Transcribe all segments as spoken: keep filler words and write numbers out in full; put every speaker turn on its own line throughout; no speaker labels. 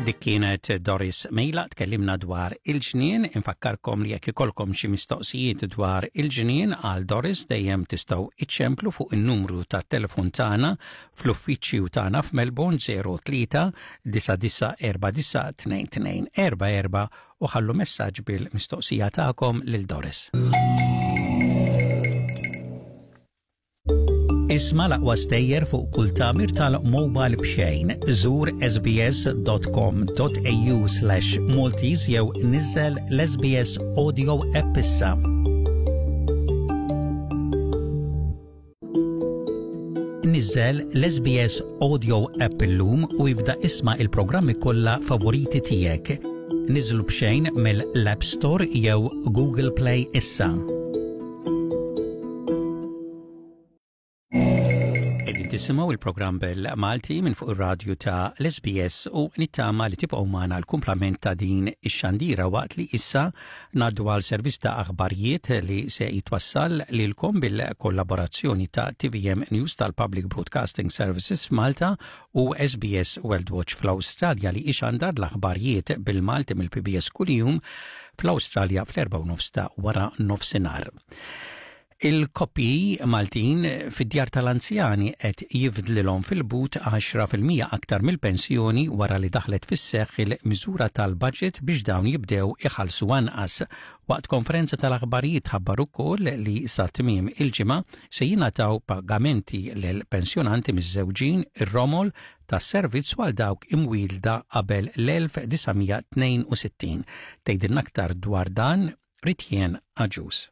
Dik kienet Doris Mejla tkellimna dwar il-ġnien, infakkarkom li jekk ikolkom xi mistoqsijiet dwar il-ġnien għal Doris dejjem tistgħu iċċemplu fuq in-numru tat-telefon tagħna fl-uffiċċju tagħna f'Melbourne zero tlieta disa' disa' erba' disa' tnejn tnejn erba' erba' u ħallu messaġġ bil-mistoqsija tagħkom lil Doris. Isma' l-aqwa stejjer fuq kull tagħmir tal-mobile b'xejn. Żur S B S dot com dot A U slash Maltese jew niżel l-S B S Audio app issa. Niżel l-S B S Audio app illum u ibda isma' il-programmi kollha favoriti tiegħek. Niżlu b'xejn mill-App Store jew Google Play issa. Qegħdin tisimgħu il-programm bil-Malti minn fuq ir-radju ta' l-S B S u nittama li tibqgħu magħna l-kumplament ta' din ix-xandira, waqt li issa ngħaddu għal servizz ta' aħbarijiet li se jitwassal lilkom bil-kollaborazzjoni ta' T V M News tal-Public Broadcasting Services f'Malta u S B S World Watch fl-Awstralja, li ixandar l-aħbarijiet bil-Malti mill-P B S kuljum fl-Awstralja fl-erba' nofs ta' wara nofsinhar. Il-koppji Maltin fid-djar tal-anzjani qed jifdlilhom fil-but għaxra fil-mija aktar mill-pensjoni wara li daħlet fis-seħħ il-miżura tal-budget biex dawn jibdew iħallsu anqas. Waqt konferenza tal-aħbarijiet ħabbar ukoll li sa tmiem il-ġimgħa se jingħataw pagamenti lil pensjonanti miżżewġin, ir-romol, tas-servizz għal dawk imwielda qabel l-elf disa' mija tnejn u sittin. Tgħidilna aktar dwar dan Ritjen Aġus.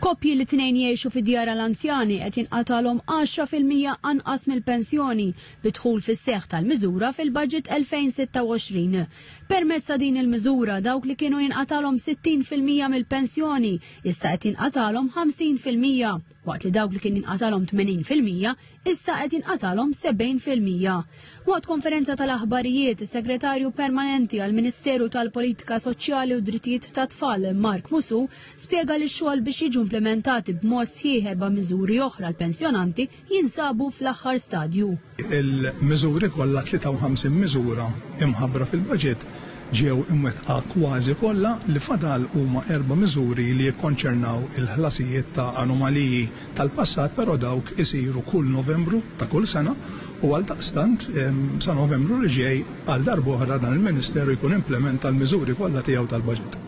Koppji li tnejn jgħixu fi djar l-anzjani qed jinqatalhom għaxra fil-mija anqas mill-pensjoni bid-dħul fis-seħħ tal-miżura fil-budget elfejn u sitta u għoxrin. Permezz ta' din il-miżura, dawk li kienu jinqatalhom sittin fil-mija mill-pensjoni issa qed jinqatalhom ħamsin fil-mija, waqt li dawk li kien jinqatalhom tmenin fil-mija issa qed jinqatalhom sebgħin fil-mija. Waqt konferenza tal-aħbarijiet, is-Segretarju Permanenti għall-Ministeru tal-Politika Soċjali u Drittijiet tat-Tfal Mark Musu spjega li x-xogħol biex jiġu implementati b'mod sħiħ erba' miżuri oħra l-pensjonanti jinsabu fl-aħħar stadju.
Il-miżuri kollha, tlieta u ħamsin miżura imħabbra fil-budget, ġew imwettqa kważi kollha. Li fadal huma erba' miżuri li jikkonċernaw il-ħlasijiet ta' anomaliji tal-passat, però dawk isiru kull Novembru ta' kull sena u għal daqstant sa Novembru li ġej għal darb'oħra dan il-Ministeru jkun implementa l-miżuri kollha tiegħu tal-budget.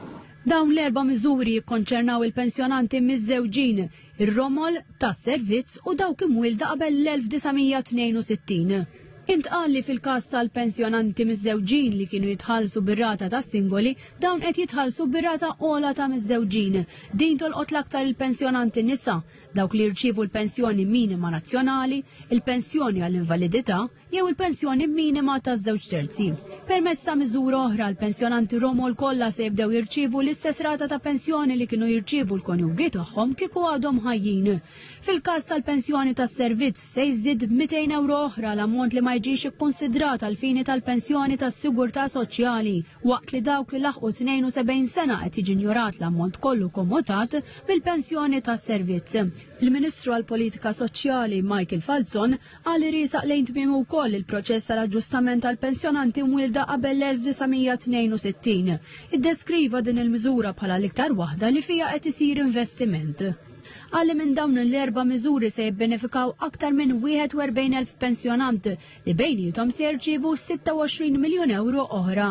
Dawn l-erba' miżuri jikkonċernaw il-pensjonanti miżżewġin, ir-romol, tas-servizz u dawk imwielda qabel l-elf disa' mija tnejn u sittin. Intqal li fil-każ tal-pensjonanti miżżewġin li kienu jitħallsu bir-rata ta' singoli, dawn qed jitħallsu bir-rata ogħla ta' miżżewġin. Din tolqot l-aktar il-pensjonanti nisa, dawk li jirċievu l-pensjoni minima nazzjonali, il-pensjoni għall-invalidità jew il-pensjoni minima ta' żewġ terzi. Permezz ta' miżura oħra, l-pensjonanti romol kollha se jibdew jirċievu l-istess rata ta' pensjoni li kienu jirċievu l-konjugi tagħhom kieku għadhom ħajjin. Fil-każ tal-pensjoni tas-servizz, se jżid mitejn euro oħra l-ammont li ma jiġix ikkonsidrat għal fini tal-pensjoni tas-sigurtà soċjali, waqt li dawk li laħqu tnejn u sebgħin sena qed jiġi injorat l-ammont kollu kommutat mill-pensjoni tas-servizz. Il-Ministru għal-Politika Soċjali Michael Falzon qal li riesaq lejn tmiemu wkoll il-proċess tal-aġġustament tal-pensjonanti mwielda qabel l-elf disa' mija tnejn u sittin. Iddeskriva din il-miżura bħala l-iktar waħda li fija qed isir investiment. Qal li minn dawn l-erba' miżuri se jibbenefikaw aktar minn wieħed u erbgħin elf pensjonant li bejnietom se jirċievu sitta u għoxrin miljun euro oħra.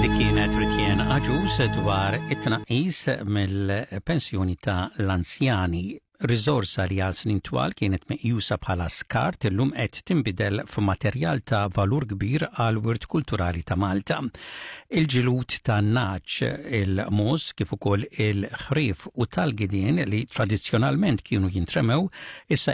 Dik kienet Ritjen Aġus dwar it-tnaqqis mill-pensjoni ta' l-anzjani. Riżorsa li għal snin twal kienet meqjusa bħala skart illum qed tinbidel f'materjal ta' valur kbir għal wirt kulturali ta' Malta. Il-ġlud tan-nagħaġ, il-mogħoż kif ukoll il-ħrief u tal-gidien li tradizzjonalment kienu jintremew issa